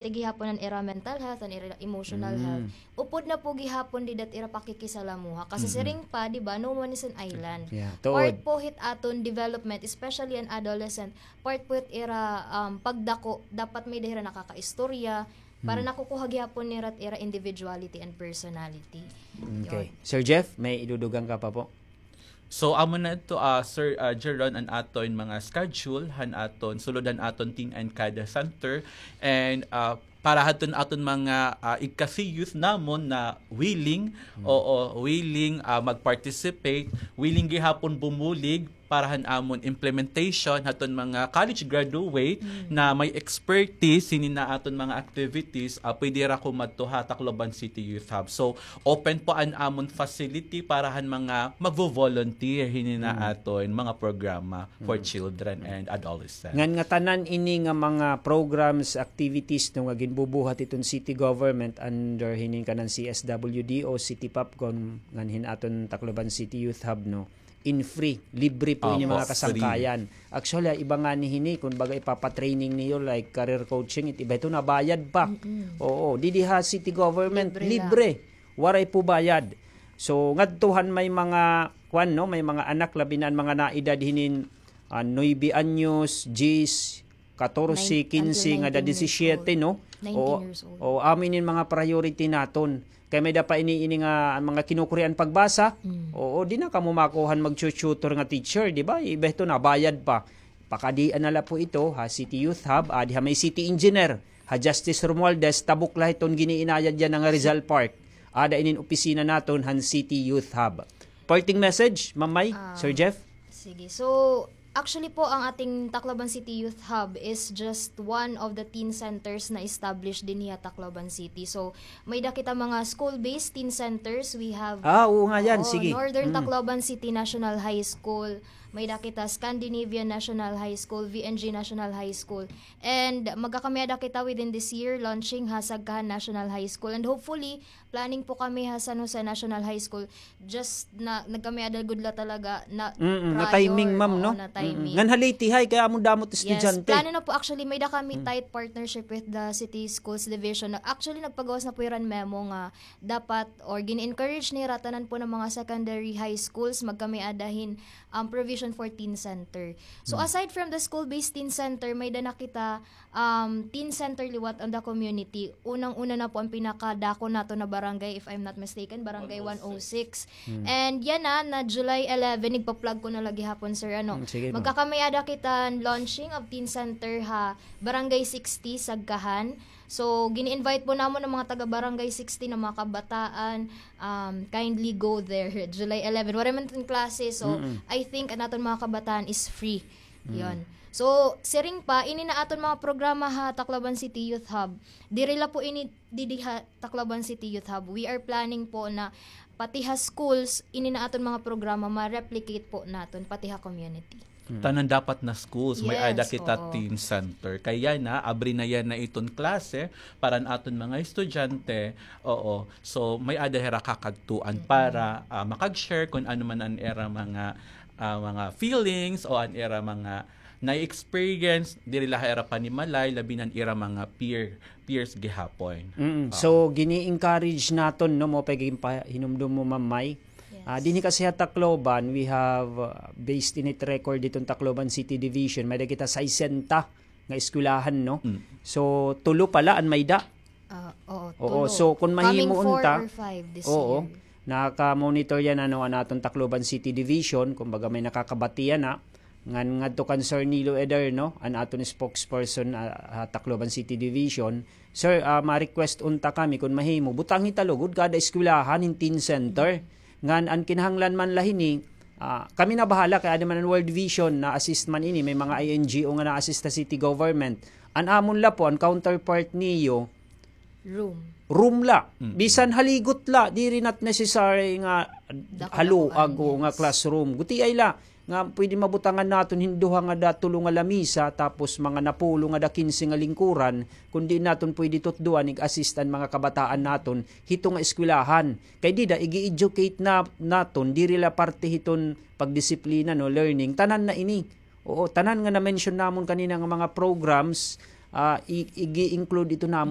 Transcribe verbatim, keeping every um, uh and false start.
gihapon an ira mental health, an ira emotional health. Upod na po gihapon dida it ira pakikisalamuha. Kasi siring pa, di ba, no man is an island. Yeah, tuod. Part po hit aton development, especially an adolescent, part po hit ira, um, pagdako, dapat may-ada hira nakakaistorya, para nakukuha gihapon nira it ira individuality and personality. Okay. Yun. Sir Jeff, may idudugang ka pa po? So, amo na ito, ah, Sir, ah, Jeron, an aton mga schedule, han aton, sulod han aton Teen and Kada Center. And, ah, para hadton aton mga, ah, igkasi-youth namon na willing, oo, willing, ah, mag-participate, willing gihapon bumulig para han amon implementation, hadton mga college graduate na may expertise hini na aton mga activities, ah, pwede ra kumadto ha Tacloban City Youth Hub. So, open po an amon facility para han mga magvo-volunteer hini na aton mga programa for children and adolescents. Ngan ngatanan ini nga mga programs, activities, no, nga ginbubuhat hiton city government under hini kanan C S W D O, City Popcom, ngan hin aton Tacloban City Youth Hub, no, in free, libre po ini mga kasangkayan. Actually, iba ngani hini, kun baga ipapatraining niyo, like career coaching, it iba ito nabayad pa. Oo, didi ha city government, libre. Waray po bayad. So, ngadto han may mga, kuan, no, may mga anak, labi na an mga naedad hinin, ah, nuebe anyos, diyes, katorse, kinse, ngada disisiyete, no? Oo, amo ini an mga priority naton. Kay may-ada pa ini, ini nga mga kinukurian pagbasa. Oo, di na kamo makuha han magtu-tutor nga teacher, di ba? Iba ito, nabayad pa. Pakadian na la po ito ha City Youth Hub, adi ha may city engineer, ha Justice Romualdez, tabok la hiton giniinayad yana nga Rizal Park. Ada inin opisina naton han City Youth Hub. Parting message, Ma'am May, Sir Jeff? Sige. So, actually po, ang ating Tacloban City Youth Hub is just one of the teen centers na established dinhi ha Tacloban City. So, may-ada kita mga school-based teen centers. We have, ah, oo nga yan, sige, Northern Tacloban City National High School, may-ada kita Scandinavian National High School, V N G National High School. And magkakamay-ada kita within this year, launching ha Sagkahan National High School. And hopefully, planning po kami ha San Jose National High School. Just na, nagkamay-ada gud la talaga na prior, na timing, ma'am, no? Na timing. Ngan ha Leyte High, kay amo damo it estudyante. Yes, plano na po. Actually, may-ada kami tight partnership with the City Schools Division. Actually, nagpagawas na po hira hin memo nga dapat or gini-encourage nira tanan po nga mga secondary high schools magkamay-ada hin, um, provision for teen center. So, aside from the school-based teen center, may-ada na kita, um, teen center liwat on the community. Unang-una na po an pinakadako naton na barangay, if I'm not mistaken, Barangay one oh six. And yana, na July eleven, igpa-plug ko na la gihapon, sir, ano. Magkakamay-ada kita launching of teen center ha Barangay sixty, Sagkahan. So, gini-invite po namon an mga taga Barangay sixty na mga kabataan, um, kindly go there. July eleven, waray man tin klase. So, I think an aton mga kabataan is free. Yon. So, siring pa, ini na aton mga programa ha Tacloban City Youth Hub. Diri la po ini didi ha Tacloban City Youth Hub. We are planning po na pati ha schools, ini na aton mga programa, ma-replicate po naton, pati ha community. Tanan dapat na schools, may-ada kita teen center. Kay yana, abri na yana iton klase para an aton mga estudyante. Oo. So, may-ada hira kakadtuan para, ah, makag-share kun ano man an ira mga, ah, mga feelings o an ira mga na-experience, diri la ha ira panimalay, labi na an ira mga peer, peers gihapon. So, gini-encourage naton, no, mao pa ginpahinumdom mo, Ma'am May. Ah, dinhi kasi ha Tacloban, we have, ah, based in it record hiton Tacloban City Division, may-ada kita sesenta nga eskwelahan, no? So, tulo pa la an may-ada. Ah, oo, tulo. So, kun mahimo unta, coming four or five this year. Naka-monitor yana, no, an aton Tacloban City Division, kumbaga may nakakabati yana. Ngan ngadto kan Sir Nilo Ederno, an aton spokesperson, ah, ha Tacloban City Division. Sir, ah, ma-request unta kami, kun mahimo, butangi ta lugod kada eskwelahan hin teen center. Ngan an kinahanglan man la hini, ah, kami na bahala, kay adi man an World Vision, na-assist man ini, may mga I N G O nga na-assist ha city government. An amon la po, an counterpart niyo, room. Room la. Bisan haligot la, diri not necessary nga haluag o nga classroom. Gutiay la nga pwede mabutangan naton hin duha ngada tulo nga lamisa, tapos mga napulo ngada kinse nga lingkuran, kun diin naton pwede tutdoan, ig-assist an mga kabataan naton hito nga eskwelahan. Kay dida, igi-educate na, naton, diri la parte hiton pagdisiplina, no, learning, tanan na ini. Oo, tanan nga na-mention namon kanina nga mga programs, Ah, i-, igi-include ito namon